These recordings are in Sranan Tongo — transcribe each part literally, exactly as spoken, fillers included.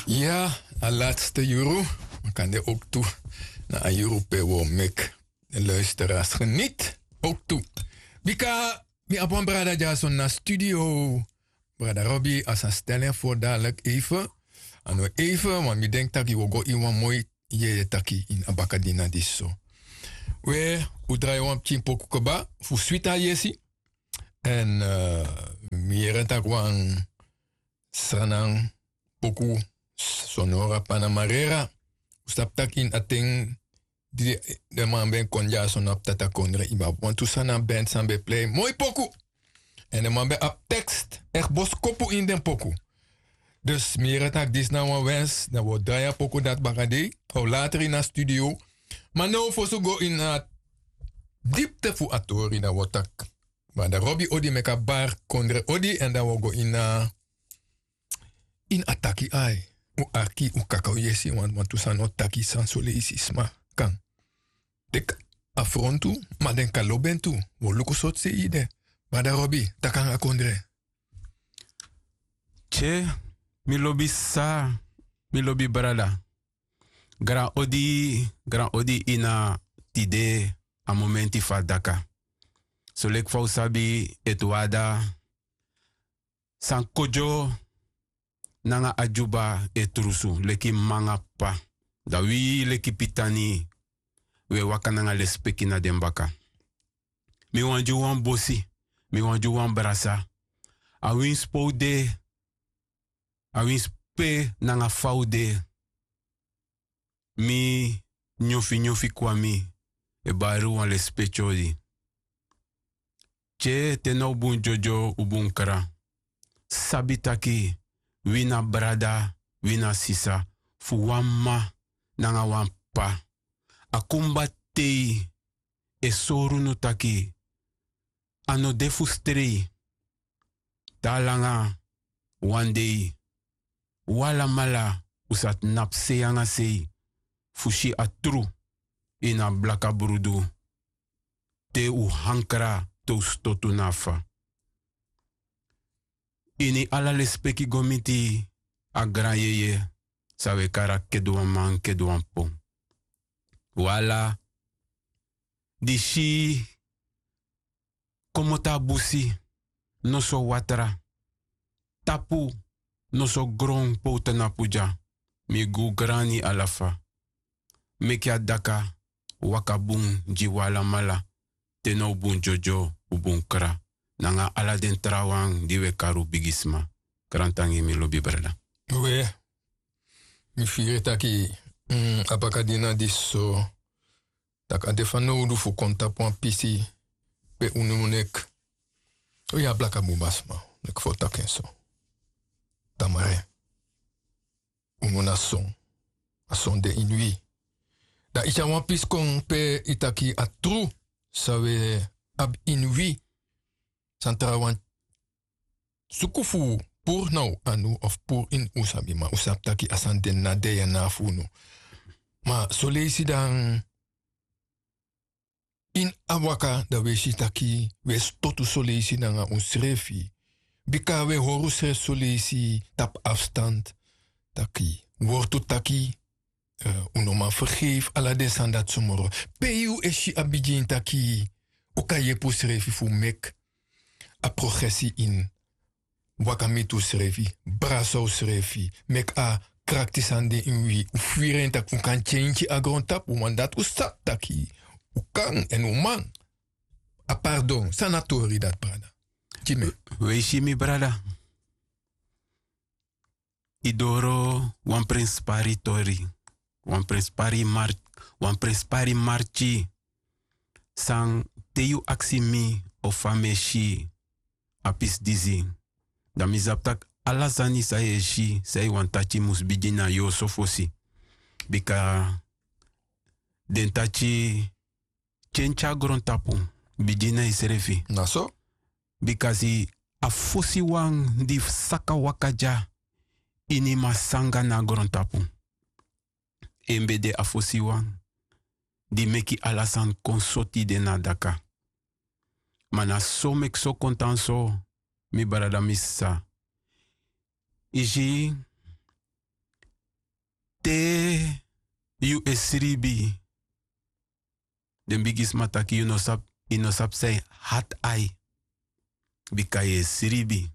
Ya, a latste yuru. Makande oktu na a yuru pe wo mek de luisteraars geniet. Oktu. Bika mi abi wan brada dyason na studio. Brada Robi, a sa stel en voor dadelijk even. A no even, want mi denk taki wo go in wan moi yeye taki in a bakadina disi so. We, u drai wan pikin poku kaba fu switi a yesi. En mi yere taki wan sranan poku sonora panamarera. U sabi taki in a ten di den man ben kon dyason na ptata kondre, i ben abi wantu sranan band san ben plei moi poku. En den man ben abi tekst, echt boskopu in den poku. Dus mi yere taki disi na wan wens, dan wo drai a poku dati bakadei. Of later in a studio. Ma now fosi go in a dipte fu a tori, dan wo taki. Ma dan Robi odi meki a bar kondre odi, en dan wo go in a in a taki ai. U arki, u kaka u yesi, want wantu sani o taki san soleisi sma kan teki afrontu, ma den kan lobi en tu. Wo luku sortu sei yu de. Brada Robi, taki nanga kondre. Tye, mi lobi sa, mi lobi brada. Gran odi, gran odi ini a tide, a momenti fu a daka. Soleki fa u sabi, Etuada, San Kodyo nanga Adyuba e trusu leki mma nanga p'pa. Dan wi leki pitani, wi e waka nanga lespeki na den baka. Mi wani gi un wan bosi, mi wani gi un wan brasa. Awinsi pe u de, awinsi pe nanga fa u de. Mi nyonfi nyonfi kwami e bari un wan lespeki odi. Tye, te na un bun dyodyo, un bun kra. Sabi taki wi na brada, wi na sisa fu wan mma nanga wan p'pa. A kumba tei e sori unu taki a no de fu strei. Te a langa wan dei, un alamala un sa tnapu sei nanga sei fu si a tru ini a blaka brudu. Te un hankra, te un stotu na fa. Ini ala lespeki go miti a gran yeye san wi e kari a Keduanman, Keduanpon. Un ala di si komoto a busi, noso watra, tapu, noso gron pe un tnapu dya, mi gi un grani ala fa. Meki a daka waka bun gi un alamala, te na un bun dyodyo, un bun kra, nanga ala den trawan di wi e kari un bigisma. Grantangi, mi lobi brada. We, mi firi taki, mm, a bakadina disi so, taki a de fanowdu fu kon tapu wan pisi pe unu nek. O ya, blaka bun masma, nek fu taki en so. Tamare. Unu na son. A son de ini wi. Dan i tyari wan pisi kon pe i taki a tru san wi abi ini wi. San trawan suku fu puru na un anu of puru ini un sabi, ma un sabi taki a sani de na DNA fu unu. Ma soleisi dan ini a waka dan wi e si taki wi e stotu soleisi nanga unsrefi. Bika wi e hori unsrefi soleisi tapu afstand. Taki wortu taki, eh, un no man fergefi ala den sani dati so moro. Pe yu e si a bigin taki un kan yepi unsrefi fu meki a progresi ini waka miti unsrefi, brasa unsrefi, meki a krakti sani de ini wi, un firi en taki un kan tyentyi a grontapu, want dati un sabi taki un kan èn un man. A pardon, san na tori dati, brada? Gi mi. Wi e si, mi brada. I doro wan prenspari tori, wan prenspari mar-, wan prenspari marki. San, te yu aksi mi o fa mi e si a pisi disi, dan mi sabi taki ala sani san yu e si, san yu wani taki, mus bigin na yu oso fosi. Bika den taki tyentyi a grontapu, bigin na yusrefi. Na so. Bikasi a fosiwan di saka waka dya ini masanga na grontapu, en ben de a fosiwan di meki ala sani kon soti de na daka. Ma na so meki so kon tan so, mi brada, mi sisa. I si, Te yu e sribi, den bigisma taki yu no sabi, yu no sabi san e hati ai. Bika yu e sribi.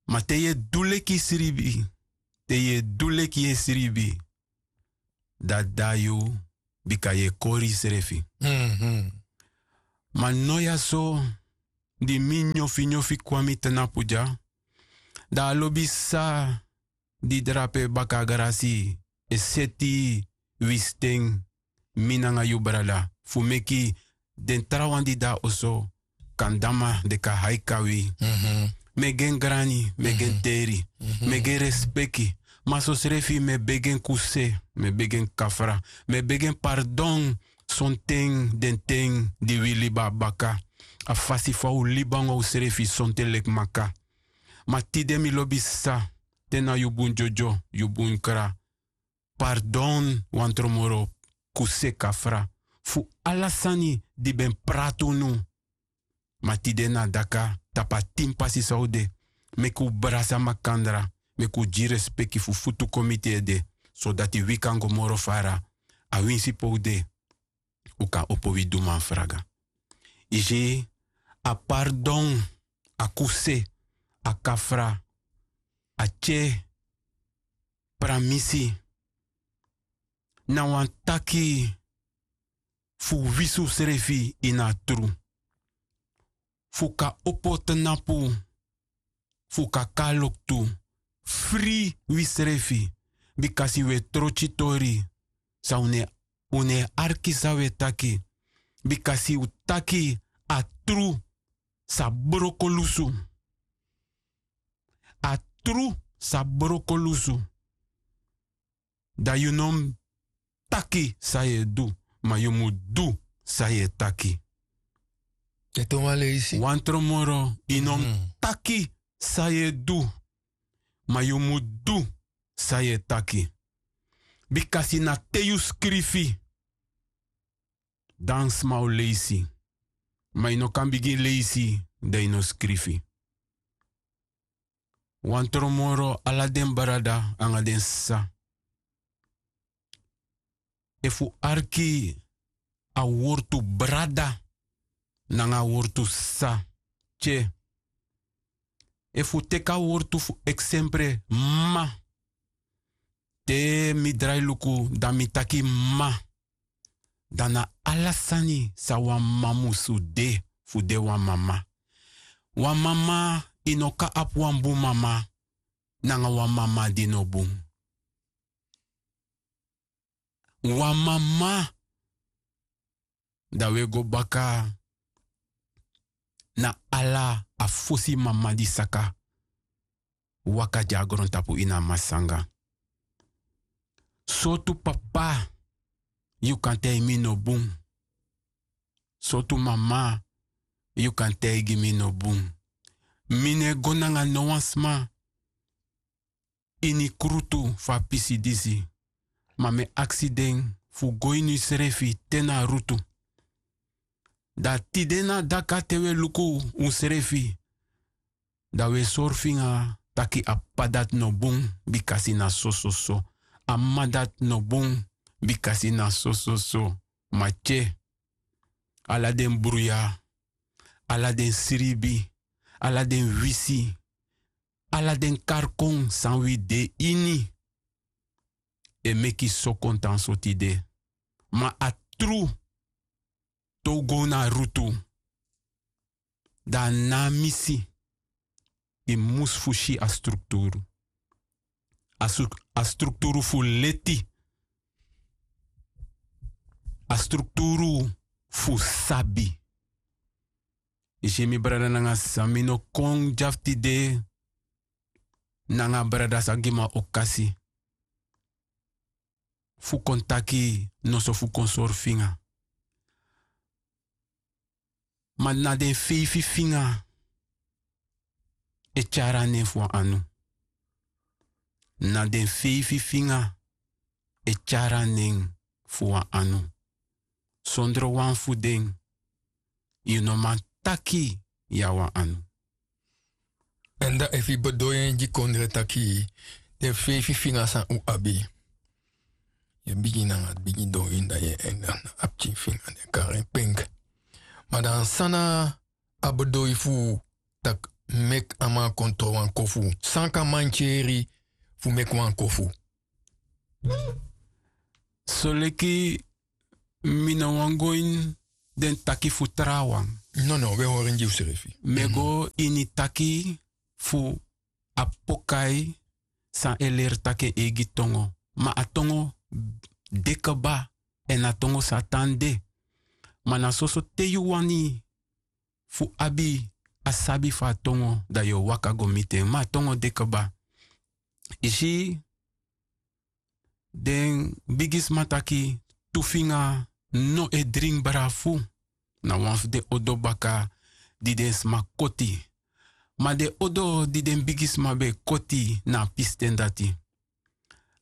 Ma te yu e du leki sribi, te yu e du leki yu e sribi, dati de na yu, bika yu e kori yusrefi. Ma no ya so, di mi nyofi nyofi kon na mi tnapu dya, dan a lobi sa di drape baka grasi e seti wi sten, mi nanga yu brada, fu meki den trawan di de na oso kan dama, den kan haika wi. Mi e gi en grani, mi e gi en teri, mi e gi en respeki. Ma sosrefi mi e begi en kuse, mi e begi en kafra, mi e begi en pardon. Sonten den ten di wi libi na baka, a fasi fa un libi nanga unsrefi sonten leki maka. Ma tide mi lobi sa, te na yu bun dyodyo, yu bun kra, pardon wan tron moro, kuse, kafra, fu ala sani di ben prati unu. Ma tide na daka tapu a tin pasi san un de, meki un brasa makandra, meki un gi respeki fu futu kon miti ede, sodati wi kan go moro fara. A winsi pe un de, un kan opo wi duman fraga. Yu si, a pardon, a kuse, a kafra, a tye, pramisi, na wan taki fu wisi unsrefi ini a tru. Fu kan opo tnapu, fu kan kon na loktu, fri wisrefi, bikasi un e trotyi tori, san un no e, un no e arki san un e taki, bikasi un taki a tru sa broko lusu. A tru sa broko lusu. Dan yu no mu taki san yu e du, ma yu mu du san yu e taki. Ete wan leisi. Wan tron moro, yu no mu taki san yu e du, ma yu mu du san yu e taki. Bikasi na te yu skrifi, dan sma o leisi. Ma yu no kan bigin leisi dan yu no skrifi. Wan tron moro, ala den brada nanga den sisa, efu un arki a wortu brada nanga a wortu sisa, tye. Efu un teki a wortu fu eksempre mama, te mi drai luku dan mi taki mama, dan na ala sani san wan mama musu de fu de wan mama. Wan mama, yu no kan abi wan bun mama nanga wan mama di no bun. Wan mama, dan un e go baka na ala a fosi mama di saka waka gi a grontapu ini a masanga. Sortu papa yu kan taigi mi no bun? Sortu mama yu kan taigi mi no bun? Mi no e go nanga no wan sma ini krutu fu a pisi disi, ma mi e aksi den fu go ini unsrefi te na a rutu. Dan tide na daka te un e luku unsrefi, dan un e sori finga taki a p'pa dati no bun bikasi na sososo, a m'ma dati no bun bikasi na sososo. Ma tye, ala den bruya, ala den sribi, ala den wisi, ala den karkon san wi de ini e meki so kon tan so tide. Ma a tru, te un go na a rutu, dan a no a misi, yu mus fu si a strukturu. A stru-, a strukturu fu leti, a strukturu fu sabi. Yu si mi brada nanga sisa, mi no kon dya fu tide nanga a brada san gi mi a okasi fu kon taki noso, fu kon sori finga. Ma na den feifi finga e tyari a nen fu wan anu. Na den feifi finga e tyari a nen fu wan anu. Sondro wan fu den, yu no man taki yu a wan anu. Èn dan efu yu bedon en gi kondre taki, Den feifi finga san un abi. Yu e bigin nanga bigi doi ini dan yu e en nanga a pikin finga den kari en penk. Ma dan san na a bedoi fu tak' meki a man kon tron wan kofu? San kan man tyeri fu meki wan kofu? Soleki mi no wani go ini den taki fu trawan. Nono we hori en gi usrefi. Mi e go ini taki fu a pokai san e leri taki en eigi tongo. Ma a tongo de kba èn a tongo sa tan de. Ma na soso te yu wani fu abi a sabi fu a tongo dan yu o waka go miti en ma a tongo de kba. Yu si den bigisma taki tu finga no e dringi brafu. Na wan fu den odo baka di den sma koti. Ma den odo di den bigisma ben e koti na a pisten dati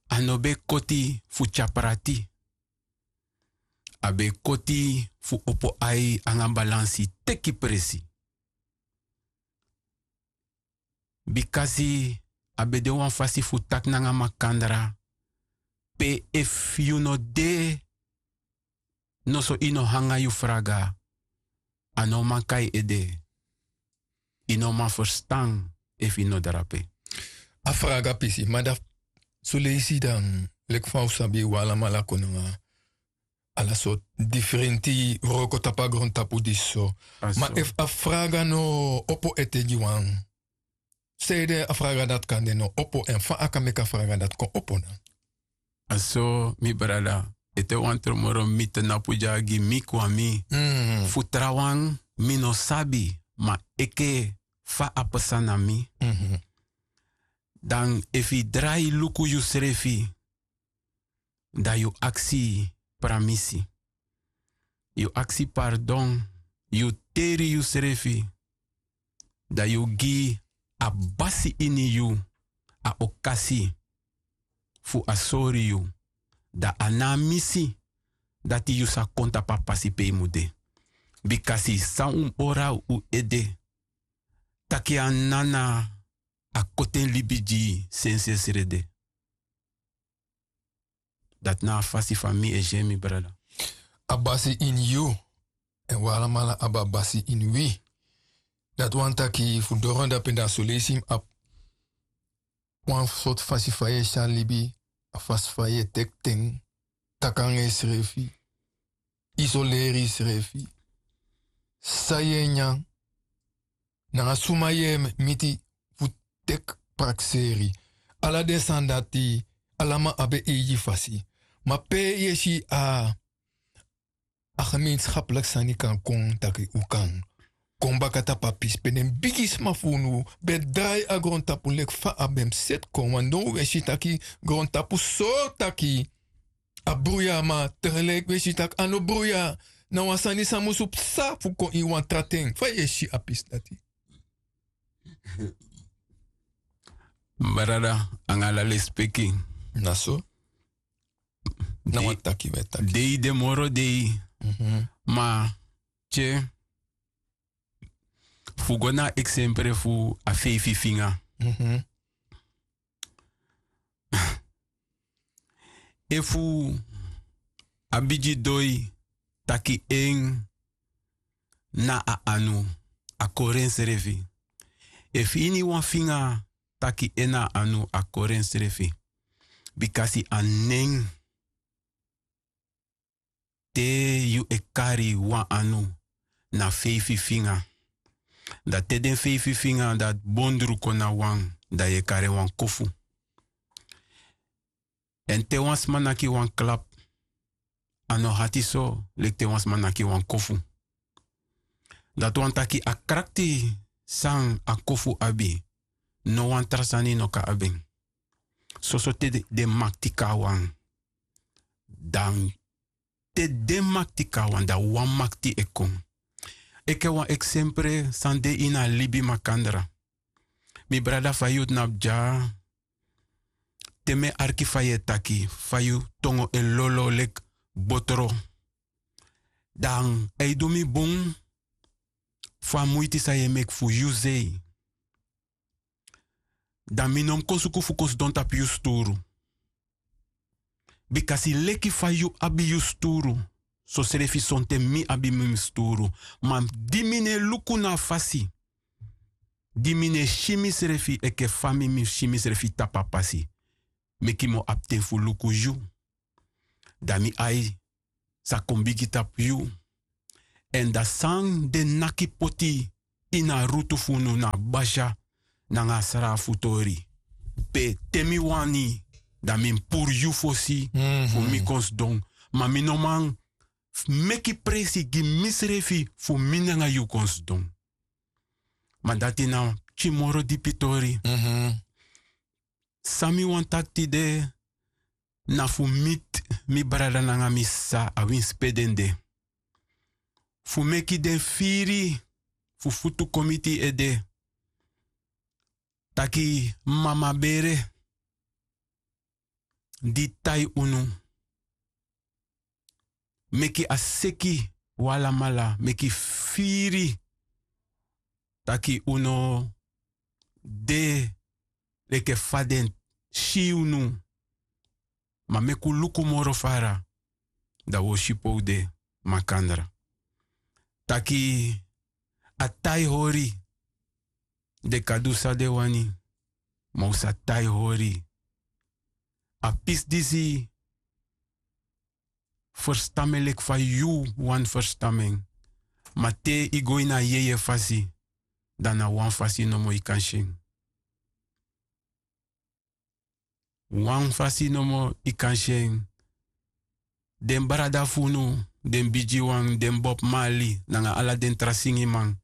a no ben e koti fu tyari prati. A ben e koti fu opo ai nanga balansi teki presi. Bikasi a ben de wan fasi fu taki nanga makandra pe efu yu no de noso yu no hanga yu fraga. A no man kai ede. Yu no man ferstan efu yu no drape. A fraga pisi ma dati soleisi dan leki fa un sabi un alamala kon nanga ala sortu difrenti wroko tapu a grontapu disi so. Ma efu a fraga no opo ete gi wan, sanede a fraga dati kan de no opo èn fa a kan meki a fraga dati kon opo na? A so mi brada, ete wan tromoro mi tnapu dya gi mi kwami. Fu trawan mi no sabi ma eke fa a psa na mi. Dan efu yu drai luku yusrefi dan yu aksi pramisi. Yu aksi pardon. Yu teri yusrefi dan yu gi a basi ini yu a okasi fu a sori yu. Dan a na a misi dati yu sa kon tapu a pasi pe yu mu de. Bikasi san un ora un ede taki a nana a koti en libi gi yu sensesrede. Dati na a fasi fa mi e si en mi brada. A basi ini yu èn wi alamala abi a basi ini wi. Dati wani taki fu doro dape dan soleisi mi abi wan sortu fasi fa yu e si a libi, a fasi fa yu e teki ten, taki nanga yusrefi, isoleri yusrefi, san yu e nyan, nanga suma yu e miti fu teki prakseri. Ala den sani dati, ala man abi en eigi fasi. Ma pe yu e si a a gemeenskaplik sani kan kon taki un kan kon baka tapu a pisi pe den bigisma fu unu ben drai a grontapu leki fa a ben mus seti kon wan now un e si taki grontapu sori taki a bruya ma tegeleki un e si taki a no bruya. Na wan sani san musu psa fu kon ini wan tra ten fa yu e si a pisi dati? Brada, anga ala lespeki. Na so. Na wan taki wi e taki. Dei de moro dei. Ma tye fu go na a eksempre fu a feifi finga. Efu a bigi doi taki en na a anu, a kori ensrefi. Efu ini wan finga taki en na a anu, a kori ensrefi. Bikasi a nen te yu e kari wan anu na feifi finga. Dan te den feifi finga dati bondru kon na wan, dan yu e kari en wan kofu. Èn te wan sma naki wan klap, a no hati so leki te wan sma naki wan kofu. Dati wani taki a krakti san a kofu abi, no wan tra sani no kan abi en. Soso te den makti kon na wan, dan te den makti kon na wan dan wan makti e kon. Enke wan eksempre san de ini a libi makandra. Mi brada, fa yu tnapu dya, te mi e arki fa yu e taki, fa yu tongo e lolo leki botro, dan a e du mi bun fu a muiti san yu e meki fu yu sei. Dan mi no mus kon suku fu kon sidon tapu yu sturu. Bikasi leki fa yu abi yu sturu, sosrefi sonten mi abi mi sturu. Ma di mi no e luku na a fasi, di mi no e si misrefi enke fa mi mi si misrefi tapu a pasi, meki mi o abi ten fu luku yu. Dan mi ai sa kon bigi tapu yu. Èn dan san den naki poti ini a rutu fu unu na a basya nanga a srafu tori. Pe te mi wani, dan mi mus puru yu fosi fu mi kon sidon. Ma mi no man meki presi gi misrefi fu mi nanga yu kon sidon. Ma dati na pikin moro dipi tori. San mi wani taki tide na fu miti mi brada nanga mi sisa, awinsi pe den de, fu meki den firi fu futu kon miti yu ede. Taki mama bere di tai unu, meki a seki un alamala, meki firi taki un no de leki fa den si unu. Ma meki un luku moro fara, dan un o si pe un de makandra. Taki a tai hori, den kan du san den wani, ma un sa tai hori. A pisi disi ferstan mi en leki fa yu wani ferstan mi en. Ma te yu go ini a yeye fasi, dan na wan fasi nomo yu kan si en. Wan fasi nomo yu kan si en. Den brada fu unu, den bigiwan, den Bob Marley nanga ala den tra singiman,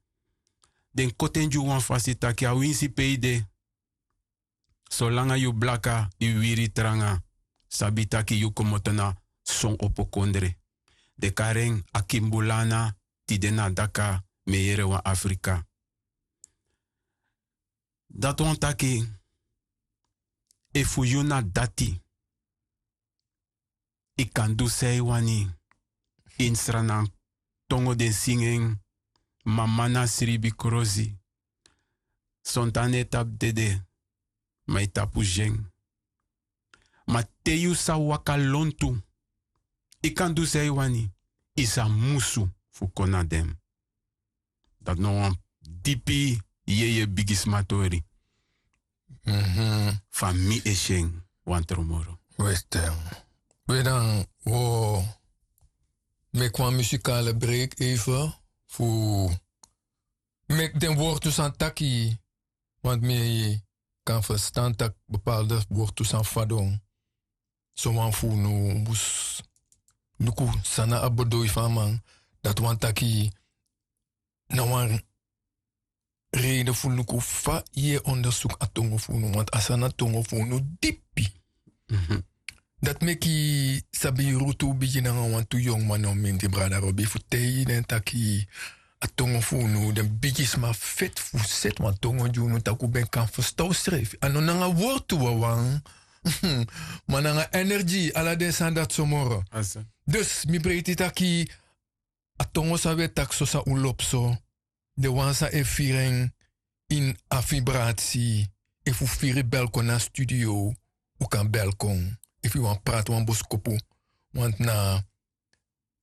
den koti en gi un wan fasi taki awinsi pe yu de, solanga yu blaka, yu wiri tranga, sabi taki yu komoto na son opo kondre. Den kari en Akimbulana, tide na daka, mi e yere wan Afrika. Dati wani taki, efu yu na dati, yu kan du san yu wani. Ini Sranan tongo den singi en: mama na sribi krosi. Sonten a no e tapu dede, ma yu tapu si en. Ma te yu sa waka lontu, yu kan du san yu wani, yu sa musu fu kon na den. Dati na wan dipi yeye bigisma tori. Fa mi e si en wan tron moro. We, dan wi o meki wan musikale break even fu meki den wortu san taki, want mi kan ferstan taki bepaalde wortu san fadon. Sowan fu unu mus luku san na a bedoel fu a man. Dati wani taki na wan reden fu luku fa yu e ondersuku a tongo fu unu, want a sani na tongo fu unu dipi. Dati meki sabi rutu bigin nanga wantu yongu man, no mindri brada Robi, fu taigi den taki a tongo fu unu, den bigisma feti fu seti wan tongo gi unu, tak' un ben kan ferstan unsrefi. A no nanga wortu wawan, ma nanga energi, ala den sani dati so moro. Dus mi breiti taki a tongo san wi e taki so, san un lobi so, den wan san e firi en ini a vibrati, efu un firi bel kon na studio, un kan bel kon. Efu yu wani prati wan boskopu, want na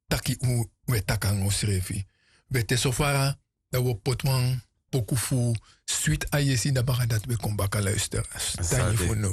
taki un, un e taki nanga unsrefi. We, te so fara, dan wi o poti wan poku fu Switi Ayesi, dan baka dati wi e kon baka luister. Tangi fu now.